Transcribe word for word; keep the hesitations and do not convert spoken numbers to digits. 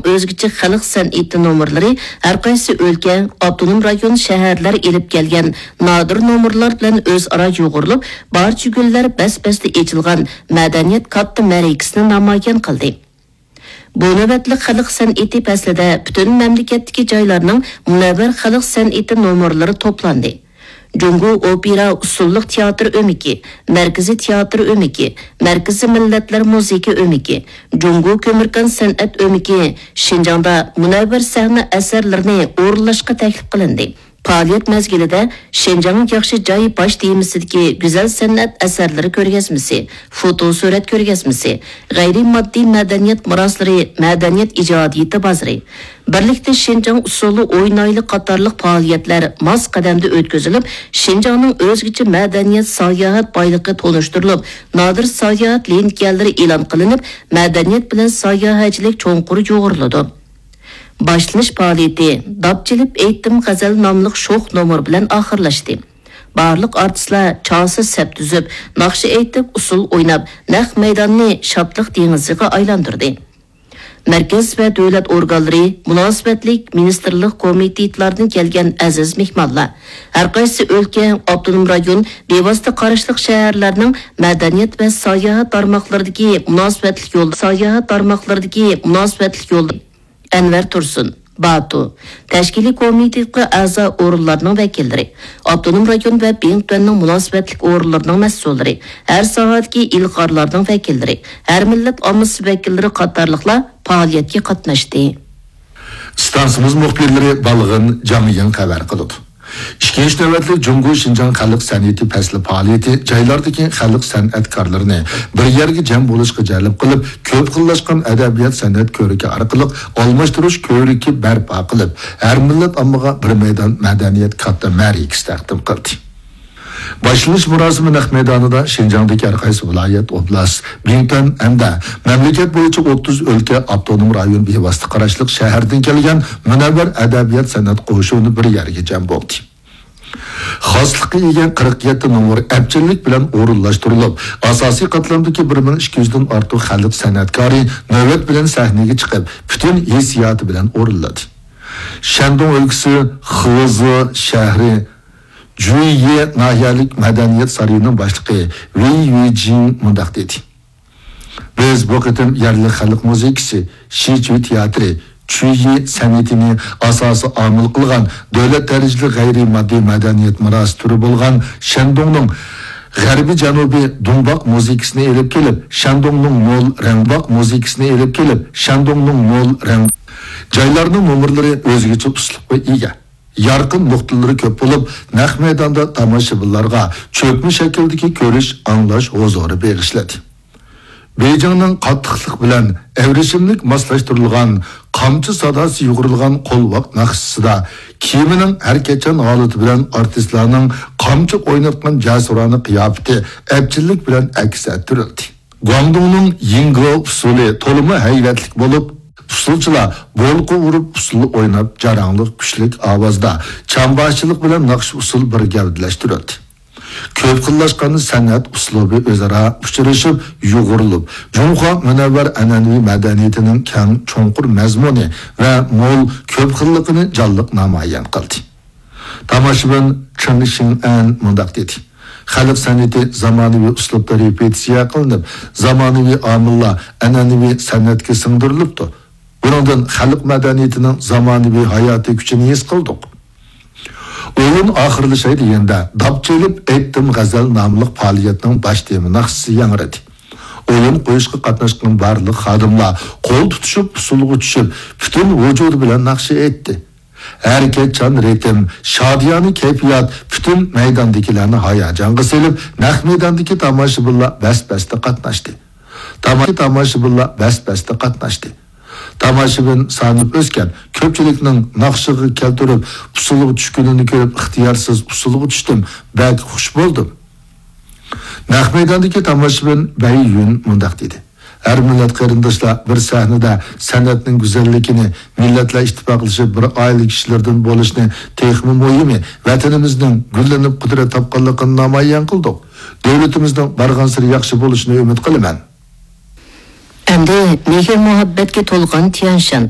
ئۆزگىچە خەلق سەنئىتى نومۇرلىرى ھەرقايسى ئۆلكە، ئاپتونوم رايون، شەھەرلەر ئېلىپ كەلگەن نادىر نومۇرلار بىلەن ئۆزئارا يۇغۇرۇلۇپ، بارچە گۈللەر بەس-بەستە ئېچىلغان مەدەنىيەت كاتتا مەرىكىسىنى نامايان قىلدى. بۇ نۆۋەتلىك خەلق سەنئىتى پەسلىدە پۈتۈن مەملىكەتتىكى جايلارنىڭ مۇنەۋۋەر خەلق سەنئىتى نومۇرلىرى توپلاندى. جۇڭگو ئوپېرا ئۇسسۇللۇق تىياتىر ئۆمىكى، مەركىزىي تىياتىر ئۆمىكى، مەركىزىي مىللەتلەر مۇزىكا ئۆمىكى، جۇڭگو كۆمۈركان سەنئەت ئۆمىكى شىنجاڭدا مۇنەۋۋەر سەھنە ئەسەرلىرىنى ئورۇنلاشقا تەكلىپ قىلىندى. پائالىيەت مەزگىلىدە شىنجاڭ ياخشى جاي باش تېمىسىدىكى گۈزەل سەنئەت ئەسەرلىرى كۆرگەزمىسى، فوتو سۈرەت كۆرگەزمىسى، غەيرىي ماددىي مەدەنىيەت مىراسلىرى مەدەنىيەت ئىجادىيىتى بازىرى، بىرلىكتە شىنجاڭ ئۇسسۇلى ئوينايلى قاتارلىق پائالىيەتلەر ماس قەدەمدە ئۆتكۈزۈلۈپ، شىنجاڭنىڭ ئۆزگىچە مەدەنىيەت ساياھەت بايلىقى تونۇشتۇرۇلۇپ، نادىر ساياھەت لىنىكەلىرى ئېلان قىلىنىپ، مەدەنىيەت بىلەن ساياھەتچىلىك چوڭقۇر يۇغۇرۇلىدۇ. باشلىنىش پائالىيىتى داپ چېلىپ ئېيتتىم غەزەل ناملىق شوخ نومۇر بىلەن ئاخىرلاشتى. بارلىق ئارتىسلار چاسا سەپ تۈزۈپ، ناخشا ئېيتىپ، ئۇسسۇل ئويناپ، نەق مەيداننى شادلىق دېڭىزىغا ئايلاندۇردى. مەركەز ۋە دۆلەت ئورگانلىرى، مۇناسىۋەتلىك مىنىستىرلىق كومىتېتلاردىن كەلگەن ئەزىز مېھمانلار، ھەرقايسى ئۆلكە، ئاپتونوم رايون، بىۋاسىتە قاراشلىق شەھەرلەرنىڭ مەدەنىيەت ۋە ساياھەت تارماقلىرىدىكى مۇناسىۋەتلىك يول، ساياھەت تارماقلىرىدىكى مۇناسىۋەتلىك يول. ئەنۋەر تۇرسۇن، باتۇ، تەشكىلىي كومىتېتقا ئەزا ئورۇنلارنىڭ ۋەكىللىرى، ئاپتونوم رايون ۋە بىڭتۈەننىڭ مۇناسىۋەتلىك ئورۇنلىرىنىڭ مەسئۇللىرى، ھەر ساھەدىكى ئىلغارلارنىڭ ۋەكىللىرى، ھەر مىللەت ئاممىسى ۋەكىللىرى قاتارلىقلار پائالىيەتكە قاتناشتى. ئىستانسىمىز مۇخبىرلىرى بالغىن جاڭيىڭ خەۋەر قىلىدۇ. ئىككىنچى نۆۋەتلىك جۇڭگو شىنجاڭ خەلق سەنئىتى پەسلى پائالىيىتى جايلاردىكى خەلق سەنئەتكارلىرىنى بىر يەرگە جەم بولۇشقا جەلپ قىلىپ، كۆپ خىللاشقان ئەدەبىيات سەنئەت كۆرىكى ئارقىلىق ئالماشتۇرۇش كۆرىكى بەرپا قىلىپ، ھەر مىللەت ئاممىغا بىر مەيدان مەدەنىيەت كاتتا مەرىكىسى تەقدىم قىلدى. باشلىنىش مۇراسىمى نەق مەيدانىدا شىنجاڭدىكى ھەر قايسى ۋىلايەت، ئوبلاست، بىڭتۈەن ھەمدە مەملىكەت بويىچە ئوتتۇز ئۆلكە، ئاپتونوم رايون بىۋاسىتە قاراشلىق شەھەردىن كەلگەن مۇنەۋۋەر ئەدەبىيات سەنئەت قوشۇنى بىر يەرگە جەم بولدى. خاسلىققا ئىگە قىرىق يەتتە نومۇر ئەپچىللىك بىلەن ئورۇنلاشتۇرۇلۇپ، ئاساسىي قاتلامدىكى بىر مىڭ ئىككى يۈزدىن ئارتۇق خەلق سەنئەتكارى نۆۋەت بىلەن سەھنىگە چىقىپ، پۈتۈن ھېسسىياتى بىلەن ئورۇنلىدى. شەندۇڭ ئۆلكىسى خېزې شەھىرى جۈييې ناھىيەلىك مەدەنىيەت سارىيىنىڭ باشلىقى ۋېي يۈجىڭ مۇنداق دېدى: بىز بۇ قېتىم يەرلىك خەلق مۇزىكىسى، شىچۈي تىياتىرى، چۈييى سەنئىتىنى ئاساسىي ئامىل قىلغان دۆلەت دەرىجىلىك غەيرىي ماددىي مەدەنىيەت مىراسى تۈرى بولغان شەندۇڭنىڭ غەربىي جەنۇبىي دۇڭباق مۇزىكىسىنى ئېلىپ كېلىپ، شەندۇڭنىڭ مول رەڭباق مۇزىكىسىنى ئېلىپ كېلىپ، شەندۇڭنىڭ مول رەڭ جايلارنىڭ نومۇرلىرى ئۆزگىچە ئۇسلۇبقا ئىگە. يارقىن نۇقتىلىرى كۆپ بولۇپ، نەق مەيداندا تاماشىبىنلارغا چۆكمە شەكىلدىكى كۆرۈش، ئاڭلاش ھۇزۇرى بېغىشلىدى. بېيجىڭنىڭ قاتتىقلىق بىلەن ئەۋرىشىملىك ماسلاشتۇرۇلغان قامچا ساداسى يۇغۇرۇلغان قولۋاق ناخشىسىدا، كىيىمىنىڭ ھەرىكەتچان ھالىتى بىلەن ئارتىسلارنىڭ قامچا ئويناتقان جەسۇرانە قىياپىتى ئەپچىللىك بىلەن ئەكس ئەتتۈرۈلدى. گۇاڭدۇڭنىڭ يىڭگې ئۇسسۇلى تولىمۇ ھەيۋەتلىك بولۇپ، ئۇسسۇلچىلار بولقا ئۇرۇپ ئۇسسۇل ئويناپ، جاراڭلىق، كۈچلۈك ئاۋازدا چامباشچىلىق بىلەن ناخشا ئۇسسۇل بىر گەۋدىلەشتۈرۈلدى. كۆپ خىللاشقان سەنئەت ئۇسلۇبى ئۆزئارا ئۇچرىشىپ، يۇغۇرۇلۇپ، جۇڭخۇا مۇنەۋۋەر ئەنئەنىۋى مەدەنىيىتىنىڭ كەڭ، چوڭقۇر مەزمۇنى ۋە مول، كۆپ خىللىقىنى جانلىق نامايان قىلدى. تاماشىبىن چېن شىڭئەن مۇنداق دېدى: خەلق سەنئىتى زامانىۋى ئۇسلۇبتا رېپېتىتسىيە قىلىنىپ، زامانىۋى ئامىللار ئەنئەنىۋى سەنئەتكە سىڭدۈرۈلۈپتۇ. بۇنىڭدىن خەلق مەدەنىيىتىنىڭ زامانىۋى ھاياتىي كۈچىنى ھېس قىلدۇق. ئويۇن ئاخىرلىشاي دېگەندە، داپ چېلىپ ئېيتتىم غەزەل ناملىق پائالىيەتنىڭ باش تېما ناخشىسى ياڭرىدى. ئويۇن قويۇشقا قاتناشقان بارلىق خادىملار قول تۇتۇشۇپ، ئۇسسۇلغا چۈشۈپ، پۈتۈن ۋۇجۇدى بىلەن ناخشا ئېيتتى. ھەرىكەتچان رىتىم، شادىيانە كەيپىيات پۈتۈن مەيداندىكىلەرنى ھاياجانغا سېلىپ، نەق مەيداندىكى تاماشىبىنلار بەس-بەستە قاتناشتى. تاما-، تاماشىبىنلار بەس-بەستە قاتناشتى. تاماشىبىن سانى ئۆسكەن، كۆپچىلىكنىڭ ناخشىغا كەلتۈرۈپ، ئۇسسۇلغا چۈشكىنىنى كۆرۈپ، ئىختىيارسىز ئۇسسۇلغا چۈشتۈم، بەك خۇش بولدۇم. نەق مەيداندىكى تاماشىبىن بەي يۈن مۇنداق دېدى: ھەر مىللەت قېرىنداشلار بىر سەھنىدە سەنئەتنىڭ گۈزەللىكىنى، مىللەتلەر ئىتتىپاقلىشىپ بىر ئائىلە كىشىلىرىدىن بولۇشنى، تېخىمۇ مۇھىمى، ۋەتىنىمىزنىڭ گۈللىنىپ قۇدرەت تاپقانلىقىنى نامايان قىلدۇق. دۆلىتىمىزنىڭ بارغانسېرى ياخشى بولۇشىنى ئۈمىد قىلىمەن. ئەمدى مېھىر-مۇھەببەتكە تولغان تيەنشان